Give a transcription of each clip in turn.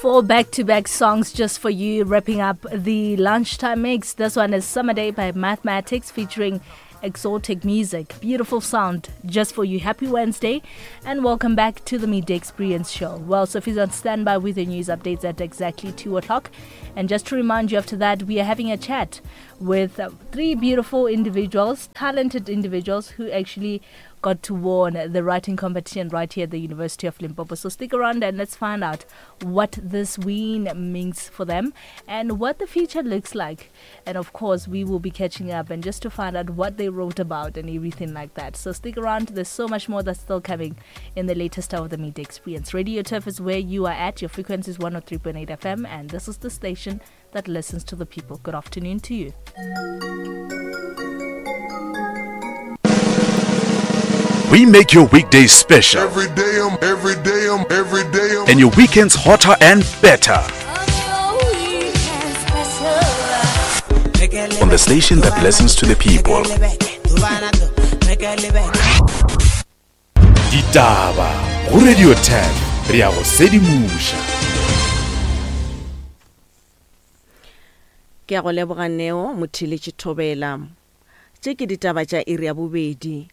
Four back to back songs just for you, wrapping up the lunchtime mix. This one is Summer Day by Mathematics featuring exotic music. Beautiful sound just for you. Happy Wednesday and welcome back to the Midday Experience Show. Well, Sophie's on standby with the news updates at exactly 2 o'clock. And just to remind you, after that, we are having a chat with three beautiful individuals, talented individuals who actually got to won the writing competition right here at the University of Limpopo. So stick around and let's find out what this win means for them and what the future looks like. And of course, we will be catching up and just to find out what they wrote about and everything like that. So stick around. There's so much more that's still coming in the latest hour of the Midday Experience. Radio Turf is where you are at. Your frequency is 103.8 FM, and this is the station that listens to the people. Good afternoon to you. We make your weekdays special. Every day I'm, every day I'm, every day I'm. And your weekends hotter and better. On the station that listens to the people. Ditaba go Radio 10 re ya go sedimoša. Ke a go leboga Neo Motheeletši Thobela. Tše ke ditaba tša iri ya bobedi.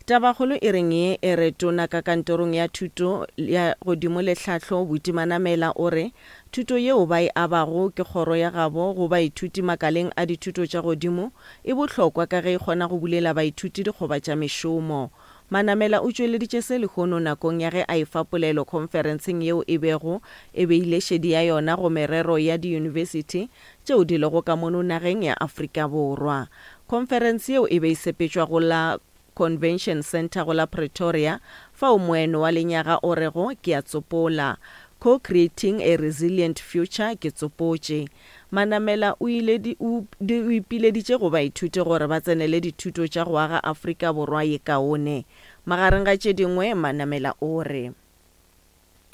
Tabakgolo e reng ye e re Tona ka kantorong ya Thuto ya Godimo le Tlhahlo Buti Manamela o re thuto yeo ba e abago ke kgoro ya gabo go baithuti makaleng a dithuto tša godimo e bohlokwa ka ge e kgona go bulela baithuti dikgoba tša mešomo. Manamela o tšweleditše se lehono nakong ya ge a efa polelo khonferenseng yeo e bego e beile šedi ya yona go merero ya diyunibesithi tšeo di lego ka mono nageng ya Afrika Borwa. Khonferense yeo e be e sepetšwa go la Convention Centre go la Pretoria, fao moeno wa lenyaga o rego Ke a tsopola, Co-creating a resilient future ke tsopotše. Manamela o ile o ipileditše go baithuti gore ba tsenele dithuto tša go aga Afrika Borwa ye kaone. Magareng ga tše dingwe, Manamela o re.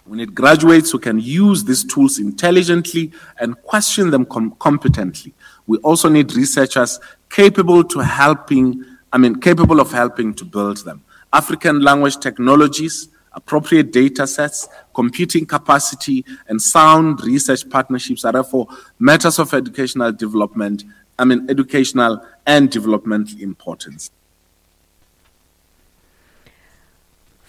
We need graduates who can use these tools intelligently and question them com competently. We also need researchers capable to helping, I mean, capable of helping to build them. African language technologies, appropriate data sets, computing capacity, and sound research partnerships are therefore matters of educational development, I mean, educational and developmental importance.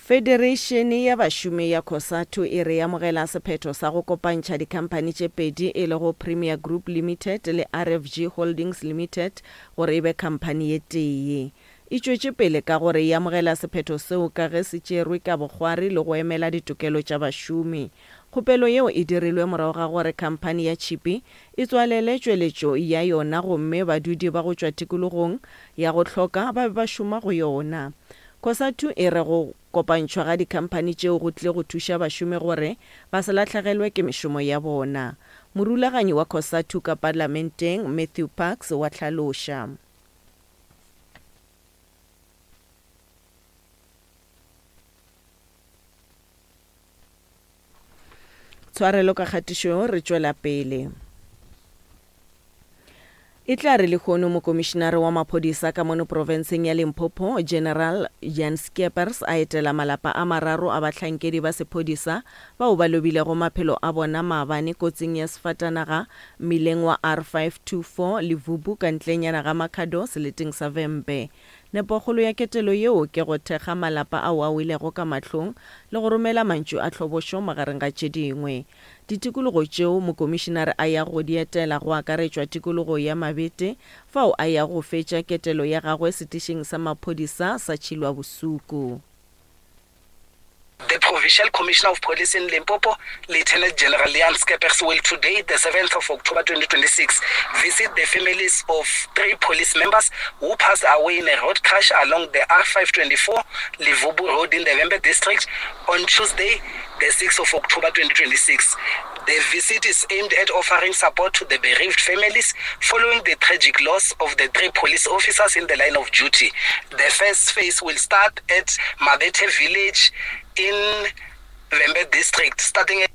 Federeišene ya Bašomi ya Cosatu e re e amogela sephetho sa go kopantšha dikhamphani tše pedi e lego Premier Group Limited le RFG Holdings Limited gore e be khamphani ye tee. E tšwetše pele ka gore e amogela sephetho seo ka ge se tšerwe ka bokgwari le go emela ditokelo tša bašomi. Kgopelo yeo e dirilwe morago ga gore khamphani ya tšhipi e tswalele tšweletšo ya yona gomme badudi ba go tšwa tikologong ya go hloka ba be ba šoma go yona. Cosatu e re go kopantšhwa ga dikhamphani tšeo go tlile go thuša bašomi gore ba se lahlegelwe ke mešomo ya bona. Morulaganyi wa Cosatu ka Parlamenteng, Matthew Parks wa hlaloša. Tshwarelo ka kgatišo, re tšwela pele. E tla re lehono Mokomišinare wa Maphodisa ka mono profenseng ya Limpopo, General Jan Skeepers a etela malapa a mararo a bahlankedi ba sephodisa bao ba lobilego maphelo a bona maabane kotsing ya sefatanaga mmileng wa R524 Levubu ka ntlenyana ga Makhado seleteng sa Vhembe. Nepokgolo ya ketelo yeo ke go thekga malapa ao a welego ka mahlong le go romela mantšu a tlhobošo magareng ga tše dingwe. Ditikologo tšeo mokomišinare a yago go di etela go akaretšwa tikologo ya Mabete fao a yago go fetša ketelo ya gagwe setišing sa maphodisa sa Tšhilwabosuku. The Provincial Commissioner of Police in Limpopo, Lieutenant General Leon Skeppers, will today, the 7th of October 2026, visit the families of three police members who passed away in a road crash along the R524 Levubu Road in the Vhembe district on Tuesday, the 6th of October 2026. The visit is aimed at offering support to the bereaved families following the tragic loss of the three police officers in the line of duty. The first phase will start at Mabete village in Vhembe district starting at.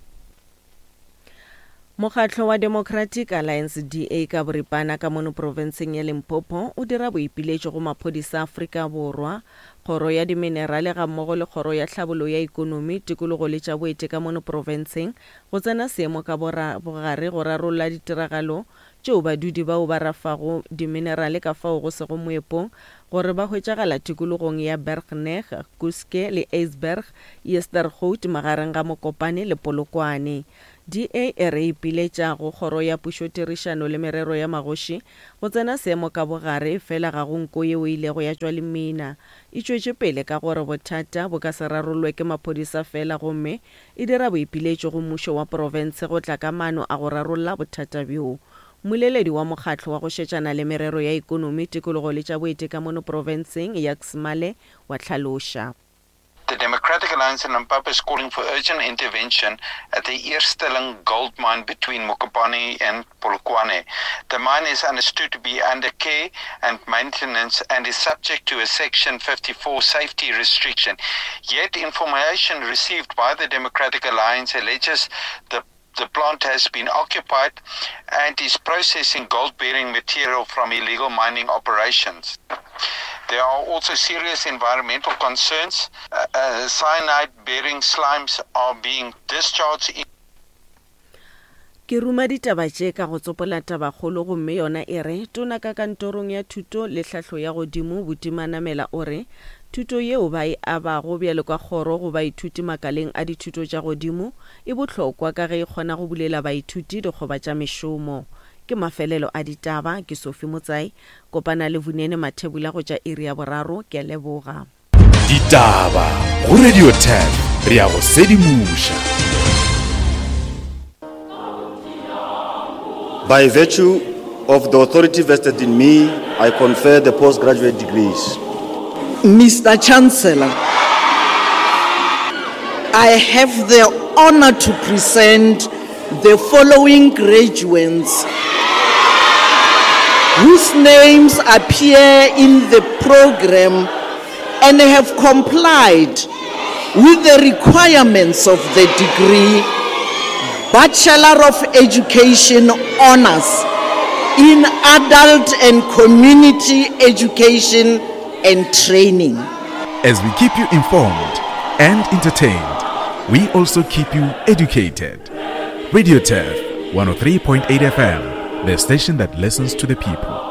Mokgatlo wa Democratic Alliance, DA, ka boripana ka mono profenseng ya Limpopo o dira boipiletšo go maphodisa a Afrika Borwa, Kgoro ya Diminerale gammogo le Kgoro ya Tlhabolo ya Ikonomi, Tikologo le tša Boeti ka mono profenseng go tsena seemo ka bogare go rarolla ditiragalo tšeo badudi bao ba rafago diminerale ka fao go sego moepong gore ba hwetšagala tikologong ya Bergnek, Kuske le Ijsberg, Yestergoed magareng ga Mokopane le Polokwane. DA e re ipiletša go Kgoro ya Pušotirišano le Merero ya Magoši go tsena seemo ka bogare efela ga go nko yeo e ilego ya tšwa lemina. E tšwetše pele ka gore bothata bo ka se rarollwe ke maphodisa fela gomme e dira boipiletšo go mmušo wa profense go tla ka maano a go rarolla bothata bjo. Mmoleledi wa mokgatlo wa go šetšana le merero ya ikonomi, tikologo le tša boeti ka mono profenseng, Jacques Male, wa hlaloša. The Democratic Alliance in Limpopo is calling for urgent intervention at the Eersteling gold mine between Mokopane and Polokwane. The mine is understood to be under care and maintenance and is subject to a Section 54 safety restriction. Yet information received by the Democratic Alliance alleges the The plant has been occupied and is processing gold bearing material from illegal mining operations. There are also serious environmental concerns. Uh, uh, cyanide bearing slimes are being discharged. In Ke ruma ditaba tše ka go tsopola tabakgolo gomme yona e re, Tona ka kantorong ya Thuto le Tlhahlo ya Godimo, Buti Manamela o re, Thuto yeo ba e abago bjalo ka kgoro go baithuti makaleng a dithuto tša godimo e bohlokwa ka ge e kgona go bulela baithuti dikgoba tša mešomo. Ke mafelelo a ditaba, ke Sophie Motsai. Kopana le Vunene Mathebula go tša iri ya boraro. Ke a leboga. Ditaba go Radio 10 re a go sedimoša. By virtue of the authority vested in me, I confer the postgraduate degrees. Mr. Chancellor, I have the honor to present the following graduates whose names appear in the program and have complied with the requirements of the degree Bachelor of Education Honors in Adult and Community Education and Training. As we keep you informed and entertained, we also keep you educated. Radio Turf 103.8 FM, the station that listens to the people.